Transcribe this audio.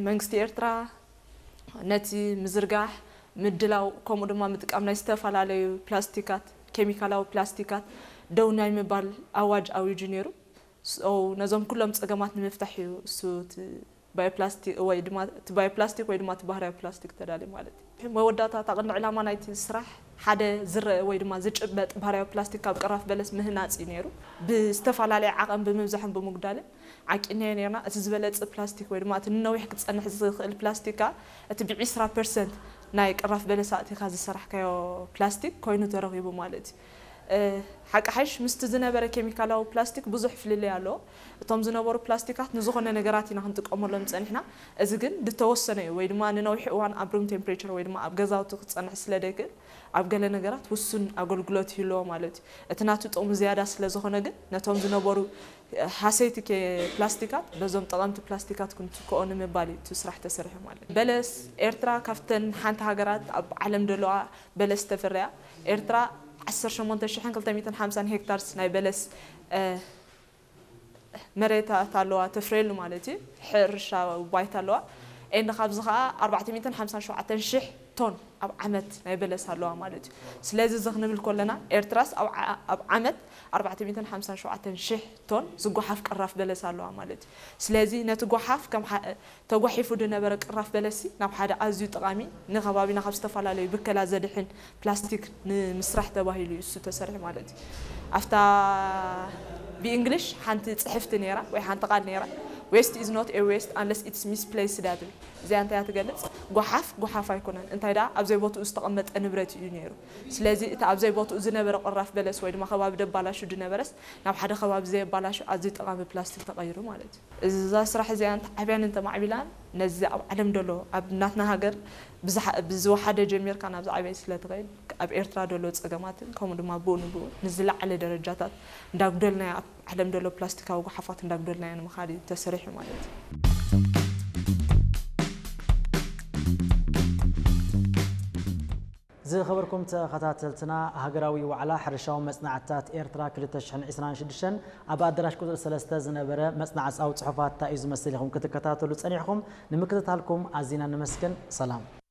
መንግስቲ ኤርትራ ነቲ ምዝርጋሕ፣ ምድላው፣ ከምኡ ድማ ምጥቃም ናይ ዝተፈላለዩ ፕላስቲካት፣ ኬሚካላዊ ፕላስቲካት ደው ናይ ምባል ኣዋጅ ኣዊጁ ነይሩ። So ነዞም ኩሎም ጸገማት ንምፍታሕ እዩ እሱ እቲ ባዮፕላስቲክ ወይ ድማ እቲ ባዮፕላስቲክ ወይ ድማ እቲ ባህርያዊ ፕላስቲክ ተዳልዩ ማለት እዩ። መወዳእታ፣ እታ ቀንዲ ዕላማ ናይቲ ስራሕ ሓደ ዝረአ ወይ ድማ ዝጭበጥ ባህርያዊ ፕላስቲክ ካብ ቅራፍ በለስ ምህናጽ እዩ ነይሩ። ብዝተፈላለየ ዓቐን ብምብዛሕን ብምጉዳልን ዓቂንናዮ ነርና። እቲ ዝበለጸ ፕላስቲክ ወይ ድማ እቲ ንነዊሕ ክጸንሕ ዝኽእል ፕላስቲክ ከኣ እቲ ብ20% ናይ ቅራፍ በለስ ኣእቲኻ ዝሰራሕካዮ ፕላስቲክ ኮይኑ ተረኺቡ ማለት እዩ። ሓቂ ሓይሽ ምስቲ ዝነበረ ኬሚካላዊ ፕላስቲክ ብዙሕ ፍልልይ ኣለዎ። እቶም ዝነበሩ ፕላስቲካት ንዝኾነ ነገራት ኢና ክንጥቀመሎም ጸኒሕና። እዚ ግን ዝተወሰነ እዩ ወይ ድማ ንነዊሕ እዋን ኣብ ሩም ቴምፕሬቸር ወይ ድማ ኣብ ገዛውቲ ክጸንሕ ስለ ዘይክእል ኣብ ገለ ነገራት ውሱን ኣገልግሎት ይህልዎ ማለት እዩ። እቲ ናቱ ጥቕሚ ዝያዳ ስለ ዝኾነ ግን ነቶም ዝነበሩ ሃሰይቲ ኬ ፕላስቲካት በዞም ጠቐምቲ ፕላስቲካት ክንትክኦ ንምባል እዩ እቲ ስራሕ ተሰሪሑ ማለት እዩ። በለስ ኤርትራ ካብተን ሓንቲ ሃገራት ኣብ ዓለም ዘለዋ በለስ ተፍርያ። ኤርትራ ዓሰርተ ሸሞንተ ሽሕን ክልተ ሚእትን ሓምሳን ሄክታርስ ናይ በለስ መሬታት ኣለዋ ተፍርየሉ ማለት እዩ። ሕርሻ ባይታ ኣለዋ። ኤንድ ካብዚ ከዓ ኣርባዕተ ሚእትን ሓምሳን ሸውዓተን ሽሕ ቶን ኣብ ዓመት ናይ በለስ ኣለዋ ማለት እዩ። ስለዚ እዚ ክንብል ከለና ኤርትራስ ኣብ ዓመት ኣርባዕተ ሚእትን ሓምሳን ሸውዓተን ሽሕ ቶን ዝጓሓፍ ቅራፍ በለስ ኣለዋ ማለት እዩ። ስለዚ ነቲ ጓሓፍ ከም ተጓሒፉ ዝነበረ ቅራፍ በለሲ ናብ ሓደ ኣዝዩ ጠቓሚ ንከባቢና ካብ ዝተፈላለዩ ብከላ ዘድሕን ፕላስቲክ ንምስራሕ ተባሂሉ እዩ እሱ ተሰሪሑ ማለት እዩ። ኣብታ ብእንግሊሽ ሓንቲ ጽሕፍቲ ነይራ ወይ ሓንቲ ቃል ነይራ፣ waste is not a waste unless it's misplaced እያ ትብል። እዚኣ እንታይ እያ ትገልጽ? ጓሓፍ ጓሓፍ ኣይኮነን፣ እንታይ ደኣ ኣብ ዘይቦትኡ ዝተቐመጠ ንብረት እዩ ነይሩ። ስለዚ እቲ ኣብ ዘይቦትኡ ዝነበረ ቅራፍ በለስ ወይ ድማ ከባቢ ደባላሹ ዝነበረስ ናብ ሓደ ከባቢ ዘየባላሹ ኣዝዩ ጠቓሚ ፕላስቲክ ተቐይሩ ማለት እዩ። እዛ ስራሕ እዚኣ እንተዓብያን እንተማዕቢላን ነዚ ኣብ ዓለም ደሎ ኣብ ናትና ሃገር ብዝሓ- ብዝወሓደ ጀሚርካ ናብ ዝዓበየ ስለ ትኸይድ ኣብ ኤርትራ ደሎ ጸገማትን ከምኡ ድማ ብኡ ንብኡ ንዝለዓለ ደረጃታት እንዳጉደልናዮ ኣብ ዓለም ደሎ ፕላስቲካዊ ጓሓፋት እንዳጉደልናዮ ንምኻድ እዩ ተሰሪሑ ማለት እዩ። ዝኸበርኩም ተኸታተልትና፣ ሃገራዊ ዋዕላ ሕርሻዊ መጽናዕትታት ኤርትራ ክልተ ሽሕን ዕስራን ሽዱሽተን ኣብ ኣዳራሽ ቁጽሪ ሰለስተ ዝነበረ መጽናዕጻዊ ጽሑፋት እንታይ እዩ ዝመስል ኢኹም ክትከታተሉ ጸኒሕኩም። ንምክትታልኩም ኣዚና ነመስግን። ሰላም።